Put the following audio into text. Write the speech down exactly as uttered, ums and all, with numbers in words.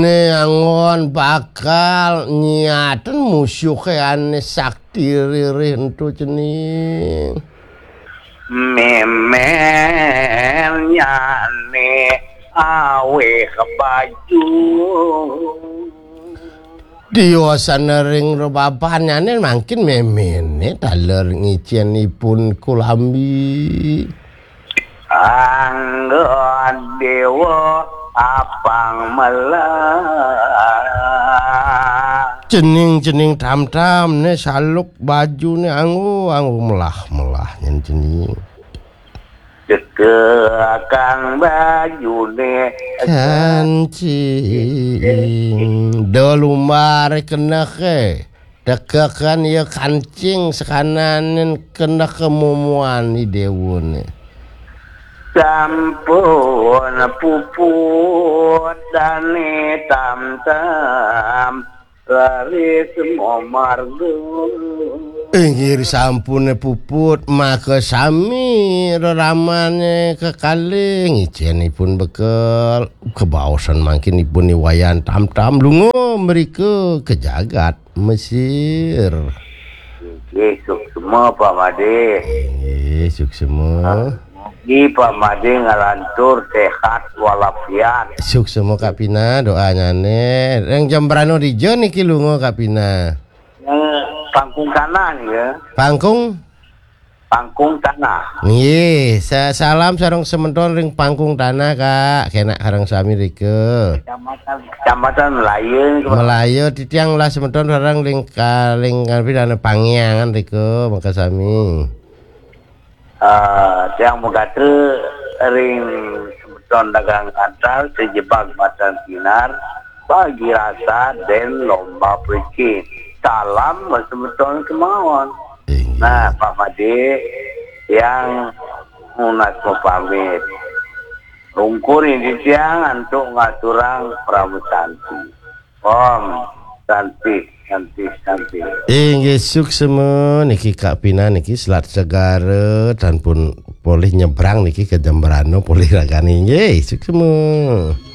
Né anggon bakal nyiaten musuhé ané sakti ririh ento cening. Mémén nyané awih baju. Diosan ring rebabanyané mangkin méméné taler ngicén ipun kulambi. Anggon déwa apang melah. Cening-cening tam-tam né saluk bajuné anggo-anggo melah-melah nyén cening. Dekekan bajuné kancing. Do lumbar kenehé. Dekekan ya kancing sakananin kenehé mumuan i déwané. Sampun puput dané tam-tam raris mamarga. Inggih sampuné puput maka sami reramané kekalih ngicén ipun bekel. Kebaosan mangkin ipun i Wayan Tam-tam lunga mrika ka jagat Mesir. Inggih suksma Pak Madé. Inggih suksma. Mugi Pak Madé nglantur séhat walafiat. Suksma Kak Pina doanyané. Ring jam berapa dija niki lunga Kak Pina? Ning Pangkung Tanah nika. Pangkung? Pangkung Tanah. Nggih, sa-, salam sareng semeton ring Pangkung Tanah, Kak. Kenak sareng sami rika. Kecamatan, Kecamatan Melaya nika, Pak. Melaya titiang lah semeton sareng ring ka-, ring Pidana Pangyangan rika, maka sami. Ah, tiang megatra ring semeton dagang antar sejebag matan sinar, bagi rasa dan lomba percin. Salam semeton kemawon. Inggih. Nah, Pak Madé, tiang nunas mapamit. Ungkur indik tiang antuk ngaturang Parama Santi. Om Santi, Santi, Santi. Inggih suksma niki Kak Pina niki Selat Segara tan pun polih nyebrang niki ke Jembrana polih ragané inggih suksma.